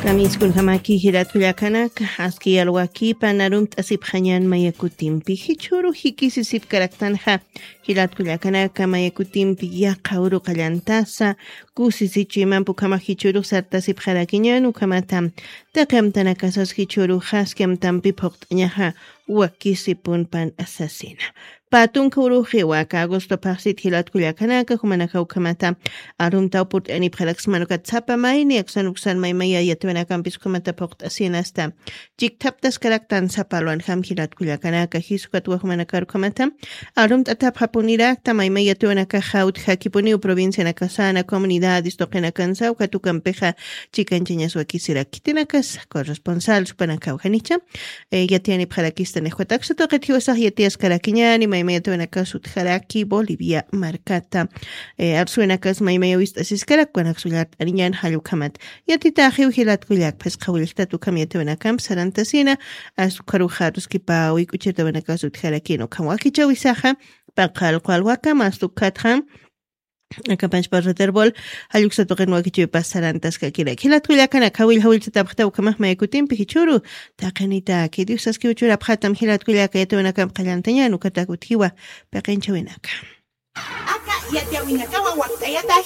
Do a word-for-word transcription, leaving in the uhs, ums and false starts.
Tamiskunjamaki jilatkullakanaka, aski yalwakipa narumt'asipxañan mayakutimpi jichhuru jikisisipkaraktanxa. Jilatkullakanaka, mayakutimpi yaqa uruqallantasa kusisichimampi ukhama jichhuru sartasipxarakiñan ukhamata taqi amtanakasas jichhuru jaski amtampi phuqt'añaxa wakisipunpan asasina. Patunka uruxiwa aka agosto phaxsit jilatkullakanaka, jumanaka ukhamata arumtaw purt'anipxaraksman ukat sapa mayni aksan uksan maymaya yatiwanakampis ukhamata phuqt'asinasta chikthaptaskaraktan sapa alwanjam jilatkullakanaka, jisukatwa jumanakar ukhamata arumt'atapxapunirakta maymaya yatiwanakaxa utjakipuniw provincianakasana comunidades tuqinakansa ukat ukampixa chikanchañas wakisirak khitinakas corresponsal supanakaw janicha yatiyanipxarakista niqwataksa tuqit jiwasax yatiyaskarakiñani maymaya yatiwanakas utjaraki bolivia markata. Arsuwinakas maymaya wist'asiskarak kunakas ullart'aniñan jallukhamat yatitaxiw jilatkullak phisqa willjtat ukham yatiwinakamp sarantasina. Askharuxa aruskipa wik'uchirtawinakas utjarakina ukham wakichawisaxa paqal qwalwakam astukatxam akapanchpa reterbol jalluksatuqin wakichiwipas sarantaskakirak jilatkullakan akhawill jawillchatapxta ukhamax maykutimpi jichhuru taqinitaki diosaski uchurapxatam jilatkullaka yatiwinakamp qallantañan ukatak utjiwa paqinchawinaka. Aka yatiwinakawa wakt'ayata